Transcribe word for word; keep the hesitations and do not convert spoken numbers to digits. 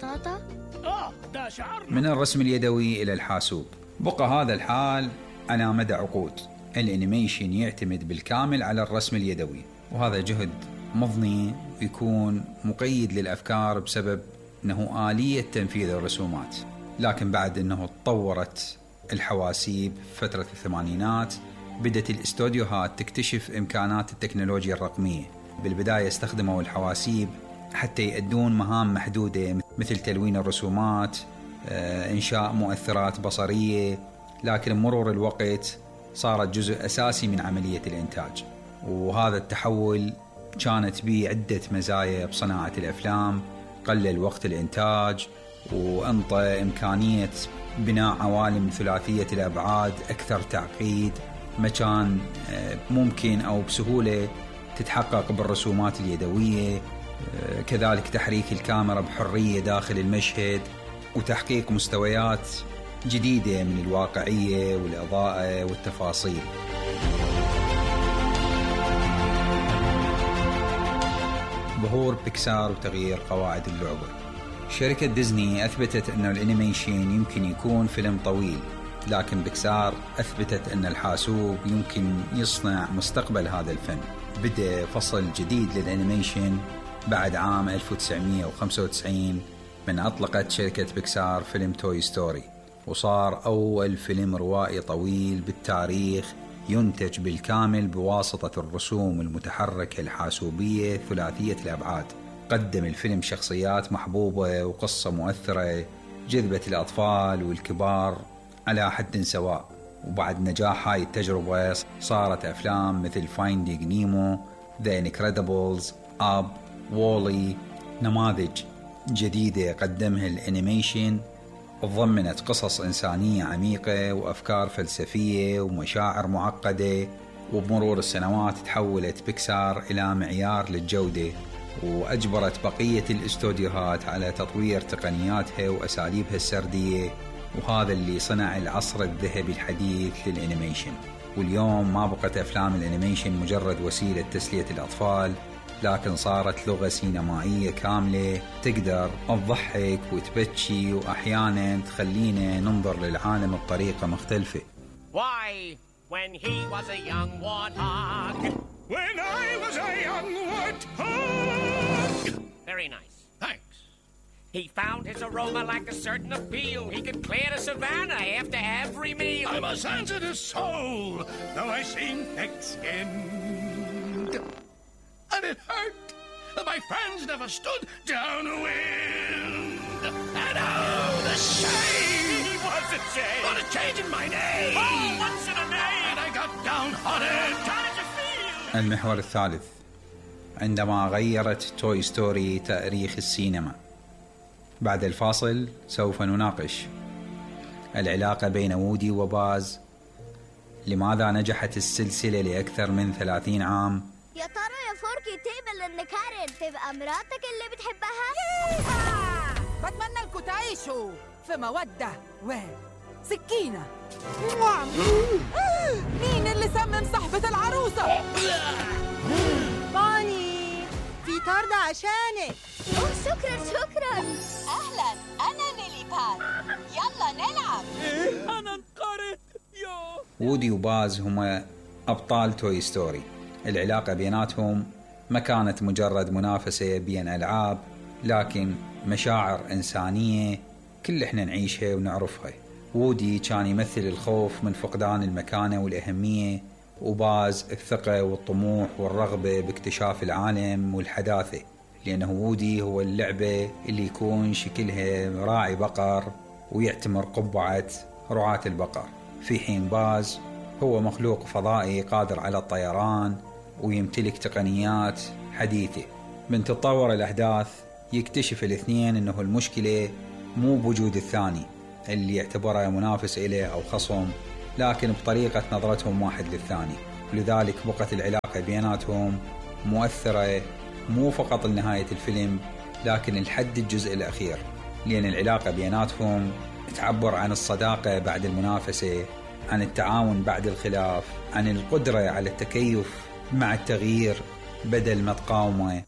ببساطة؟ آه ده شعر. من الرسم اليدوي إلى الحاسوب، بقى هذا الحال على مدى عقود. الانيميشن يعتمد بالكامل على الرسم اليدوي، وهذا جهد مضني ويكون مقيد للأفكار بسبب أنه آلية تنفيذ الرسومات. لكن بعد أنه تطورت الحواسيب فترة الثمانينات، بدأت الاستوديوهات تكتشف إمكانات التكنولوجيا الرقمية. بالبداية استخدموا الحواسيب حتى يؤدون مهام محدودة مثل تلوين الرسومات، إنشاء مؤثرات بصرية، لكن مرور الوقت صارت جزء أساسي من عملية الإنتاج. وهذا التحول كانت به عدة مزايا بصناعة الأفلام: قلل وقت الإنتاج، وأنطى إمكانية بناء عوالم ثلاثية الأبعاد أكثر تعقيد ما كان ممكن أو بسهولة تتحقق بالرسومات اليدوية. كذلك تحريك الكاميرا بحرية داخل المشهد، وتحقيق مستويات جديدة من الواقعية والإضاءة والتفاصيل. ظهور بيكسار وتغيير قواعد اللعبة. شركة ديزني أثبتت أن الانيميشن يمكن يكون فيلم طويل، لكن بيكسار أثبتت أن الحاسوب يمكن يصنع مستقبل هذا الفن. بدأ فصل جديد للانيميشن بعد عام ألف وتسعمائة وخمسة وتسعين من أطلقت شركة بيكسار فيلم توي ستوري، وصار أول فيلم روائي طويل بالتاريخ ينتج بالكامل بواسطة الرسوم المتحركة الحاسوبية ثلاثية الأبعاد. قدم الفيلم شخصيات محبوبة وقصة مؤثرة جذبت الأطفال والكبار على حد سواء. وبعد نجاح هاي التجربة صارت أفلام مثل Finding Nemo, The Incredibles, Up, Wall-E نماذج جديدة قدمها الانيميشن، تضمنت قصص إنسانية عميقة وأفكار فلسفية ومشاعر معقدة. وبمرور السنوات تحولت بيكسار إلى معيار للجودة، وأجبرت بقية الاستوديوهات على تطوير تقنياتها وأساليبها السردية، وهذا اللي صنع العصر الذهبي الحديث للانيميشن. واليوم ما بقت أفلام الانيميشن مجرد وسيلة تسلية الأطفال، لكن صارت لغة سينمائية كاملة تقدر تضحك وتبكي، وأحيانا تخلينا ننظر للعالم بطريقة مختلفة. Why, when he was a young warthog. When I was a young warthog. Very nice. Thanks. He found his aroma like a certain appeal. He could clear the savannah after every meal. I'm a sensitive soul, though I seem thick-skinned. And it hurt that my friends never stood downwind. And oh, the shame! What's a shame? What a change in my name! Oh, what's in a name? And I got downhearted. How did you feel? المحور الثالث: عندما غيرت توي ستوري تاريخ السينما. بعد الفاصل سوف نناقش العلاقة بين وودي وباز، لماذا نجحت السلسلة لأكثر من ثلاثين عام. يا ترى يا فوركي تقبل ان كارين تبقى مراتك اللي بتحبها؟ بتمنى لكم تعيشوا في مودة وسكينة. مين اللي سمم صاحبة العروسة؟ بوني، في طردة عشانك. اوه شكرا شكرا. أهلا، أنا نيلي باد، يلا نلعب. أنا انقرض. يو وودي وباز هما أبطال توي ستوري. العلاقة بيناتهم ما كانت مجرد منافسة بين ألعاب، لكن مشاعر إنسانية كل إحنا نعيشها ونعرفها. وودي كان يمثل الخوف من فقدان المكانة والأهمية، وباز الثقة والطموح والرغبة باكتشاف العالم والحداثة، لأنه وودي هو اللعبة اللي يكون شكلها راعي بقر ويعتمر قبعة رعاة البقر، في حين باز هو مخلوق فضائي قادر على الطيران ويمتلك تقنيات حديثة. من تطور الأحداث يكتشف الاثنين أنه المشكلة مو بوجود الثاني اللي يعتبره منافس إليه أو خصم، لكن بطريقة نظرتهم واحد للثاني. ولذلك بقت العلاقة بيناتهم مؤثرة مو فقط لنهاية الفيلم، لكن لحد الجزء الأخير، لأن العلاقة بيناتهم تعبر عن الصداقة بعد المنافسة، عن التعاون بعد الخلاف، عن القدرة على التكيف مع التغيير بدل ما تقاومه.